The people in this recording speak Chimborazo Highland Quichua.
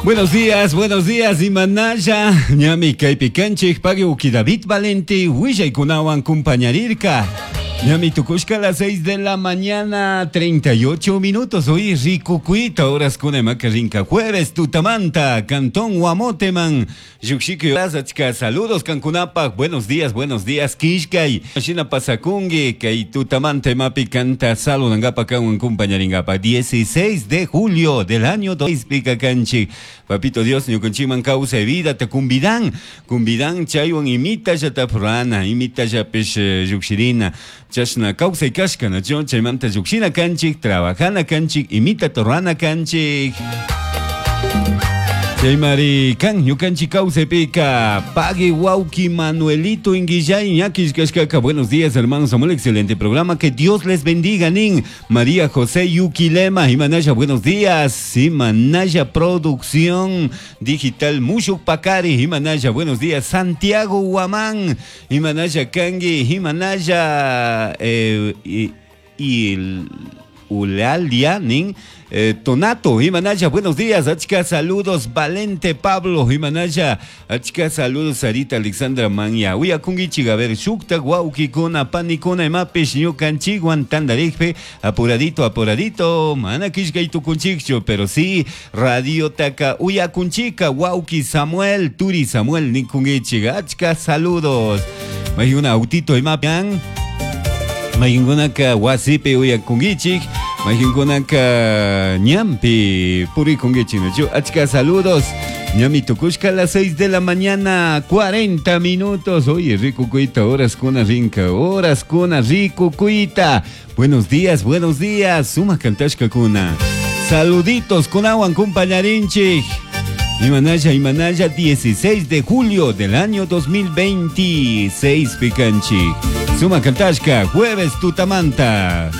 Buenos días, buenos días, Imanaya, ñami kaypi kanchik, pagui uki David Valente, willaykunawan kumpañarirka. Ñami tukushka a las 6 de la mañana, 38 minutos. Hoy rikukuita, horas kuna rinka jueves, tutamanta, Cantón Guamoteman. Llukshiki achka saludos kankunapaj, buenos días, buenos días, kishkay. Shina pasakungi, kay tutamanta imapi kanta saludangapa kanwan kumpañaringapa. 16 de julio del año 2 pika kanchik. Papito Dios, ñukanchikman kawsay vida te kumbidan, kumbidan chaywan imita llata imita llapish llukshirina. Chashna kawsay kashka, nacho chaymanta llukshina kanchik, trabajana kanchik, imita torrana kanchik. Chaymari kan ñukanchik kawsaypika pagui wawki Manuelito Inguillay ñakish kashkaka. Buenos días, hermanos Samuel, excelente programa, que Dios les bendiga, nin María José Yuquilema, Imanaya, buenos días, Imanaya Producción Digital Mushuk Pacari, Imanaya, buenos días, Santiago Huamán, Imanaya Kangi, Imanaya y Ulalia, nin Tonato, Imanaya, buenos días, achka saludos, Valente Pablo, Imanaya, achka saludos, Sarita Alexandra Manya, uyakungichik, a ver, shukta, wawkikuna, panikuna, imapish, ñukanchikwan, tandarikpi, apuradito, apuradito, mana kishkay tukunchikchu, pero sí, radio taka, uyakunchika, wawki Samuel, Turi Samuel, nikungichik, achka saludos, mayuna autito, imapian, mayunkunaka wasipi uyakungichik, mayunkunaka ñampi purikungichik, nachu, achka saludos, ñami tukushka a las 6 de la mañana, 40 minutos, oye, rico cuita, horas kuna rinka, horas kuna rico cuita, buenos días, buenos días, suma kantashka kuna, saluditos kunawan kumpañarinchik. Imanaya, Imanaya, 16 de julio del año 2026, Picanchi. Suma Kantashka, jueves Tutamanta.